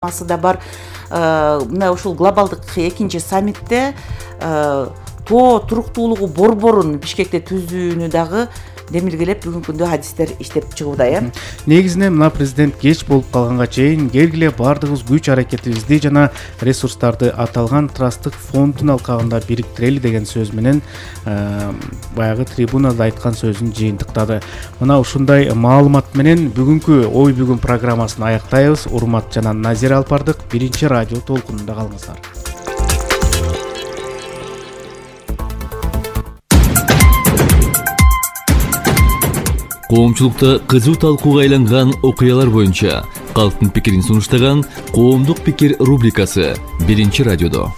да бар. Мына ушул глобалдык экинчи саммитте тоо туруктуулугу борборун Бишкекте түзүүнү дагы демилгелеп бүгүнкү күндө адистер иштеп чыгууда. Негизинен мына президент кеч болуп калганга чейин келгиле баардыгыбыз күч аракетибизди жана ресурстарды аталган трасттык фонддун алкагында бириктирели деген сөз менен баягы трибунада айткан сөзүн жыйынтыктады. Мына ушундай маалымат менен бүгүнкү ой бүгүн программасын аяктайбыз. Урмат жана Назира Алпардык биринчи радио толкунунда калыңыздар. Коомчулукта кызуу талкууга айланган окуялар боюнча калктын пикирин сунуштаган Коомдук пикир рубрикасы биринчи радиодо.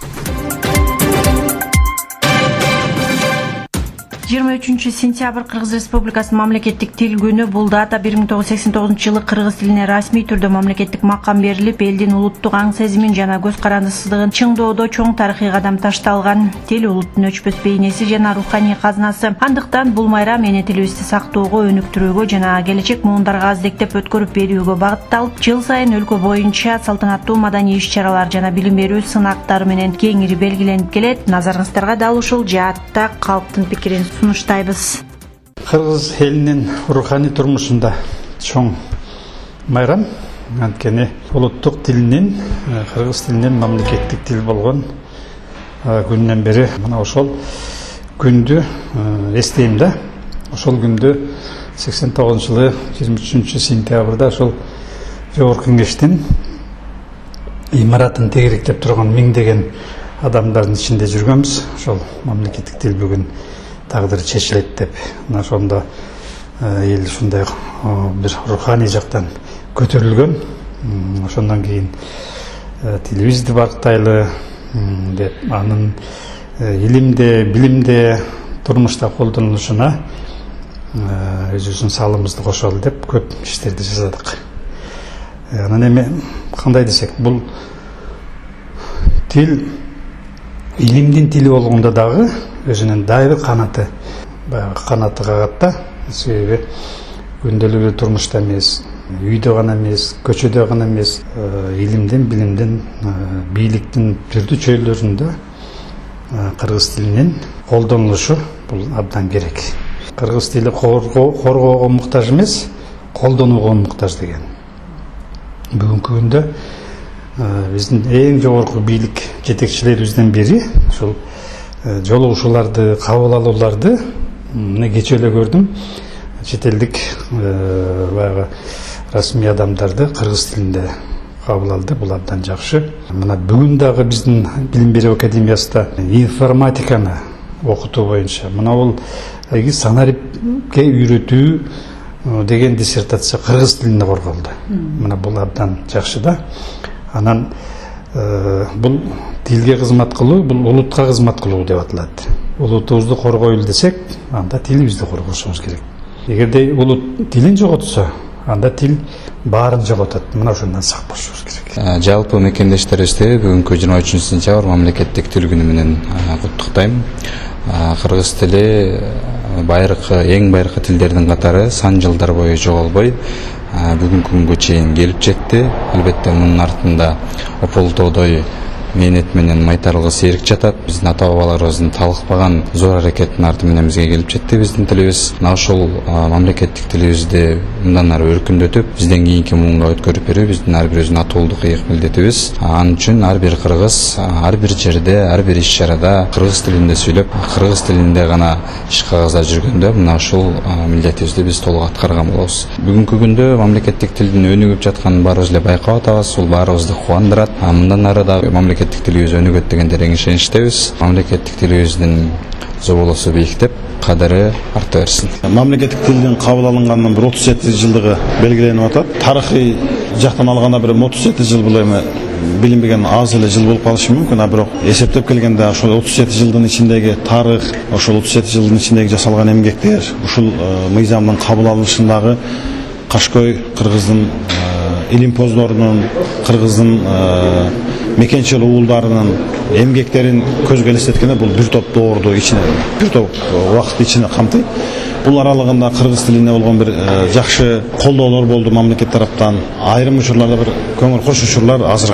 23 сентябрь Кыргыз Республикасынын мамлекеттик тил күнү. Бул дата 1989 кыргыз тилине расмий түрдө мамлекеттик макам берилип, элдин улуттук аң сезимин жана көз карандысыздыгын чыңдоодо чоң тарыхый кадам ташталган. Тил улуттун өчпөс бейнеси жана руханий казынасы. Андыктан бул майрам эне тилибизди сактоого, өнүктүрүүгө жана келечек муундарга аздектеп өткөрүп берүүгө багытталып, жыл сайын өлкө боюнча салтанаттуу маданий иш-чаралар жана билим берүү сынактары менен кеңири белгиленип келет. Назарыңыздарга дал ушул жаатта калктын пикирин сунуштайбыз. Кыргыз элинин руханий турмушунда чоң майрам, анткени улуттук тилинин, кыргыз тилинин мамлекеттик тил болгон күндөн бери мына ошол күндү эстейм да. Ошол күндү 89-жылы 23 сентябрда ошол Жогорку Кеңештин имаратын тегеректеп турган миңдеген адамдардын ичинде жүргөнбүз. Ошол мамлекеттик тил бүгүн тагдыры чечилет деп. Мына ошондо эл ушундай бир руханий жактан көтөрүлгөн. Ошондон кийин тилибизди барктайлы деп анын илимде, билимде, турмушта колдонулушуна өзүбүздүн салымыбызды кошолу деп көп иштерди жасадык. Анан эми кандай десек, бул тил илимдин тили болгондо дагы өзүнүн дайыр канаты, баягы канаты кагат да. Себеби күндөлүк турмушта эмес, үйдө гана эмес, көчөдө гана эмес, илимдин, билимдин, бийликтин түрдүү чөйрөлөрүндө кыргыз тилинин колдонулушу бул абдан керек. Кыргыз тили коргоого муктаж эмес, колдонууга муктаж деген. Бүгүнкү күндө биздин эң жогорку бийлик жетекчилерибизден бири ушул жолугушууларды, кабыл алууларды мына кечээ эле көрдүм. Чет элдик баягы расмий адамдарды кыргыз тилинде кабыл алды. Бул абдан жакшы. Мына бүгүн дагы биздин Билим берүү академиясында информатиканы окутуу боюнча мына бул санарипке үйрөтүү деген диссертация кыргыз тилинде корголду. Мына бул абдан жакшы да. Анан бул тилге кызмат кылуу, бул улутка кызмат кылуу деп аталат. Улутубузду коргойлу десек, анда тилибизди коргошубуз керек. Эгерде улут тилин жоготсо, анда тил баарын жоготот. Мына ошондон сак болушубуз керек. Жалпы мекендештерибизди бүгүнкү 23 сентябрь мамлекеттик тил күнү менен куттуктайм. Кыргыз тили эң байыркы тилдердин катары сан жылдар бою жоголбой бүгүнкү күнгө чейин келип жетти. Албетте мунун артында ополтоодой мээнет менен майтарылгы серик жатат. Биздин ата бабаларыбыздын талыкпаган зор аракеттин арты менен бизге келип жетти биздин тилибиз. Мына ошол мамлекеттик тилибизди мындан ары өркүндөтүп, бизден кийинки муунга өткөрүп берүү биздин ар бирибиздин атуулдук ыйык милдетибиз. Анын үчүн ар бир кыргыз ар бир жерде, ар бир иш-чарада кыргыз тилинде сүйлөп, кыргыз тилинде гана иш кагазда жүргөндө мына ушул милдетибизди биз толук аткарган болобуз. Бүгүнкү күндө мамлекеттик тилдин өнүгүп жатканын баарыбыз эле байкап атабыз. Бул баарыбызды кубандырат. Мындан ары дагы мамлекеттик тилибиз өнүгөт деген терең ишеничтебиз. Мамлекеттик тилибиздин зоболосу бийиктеп, кадыры арта берсин. Мамлекеттик тилдин кабыл алынганынан бир 37 жылдыгы белгиленип атат. Тарыхый жактан алганда бир 37 жыл бул эми билинбеген аз эле жыл болуп калышы мүмкүн, бирок эсептеп келгенде ошол 37 жылдын ичиндеги тарых, ошол 37 жылдын ичиндеги жасалган эмгектер, ушул мыйзамдын кабыл алынышындагы Кашкой кыргыздын илимпоздорунун, кыргыздын мекенчил уулдарынын эмгектерин көзгө элестеткенде бул бир топ доорду ичине, бир топ убакытты ичине камтыйт. бул аралыгында кыргыз тилине болгон бир жакшы колдоолор болду мамлекет тараптан. Айрым учурларда бир көңүл кош учурлар азыркы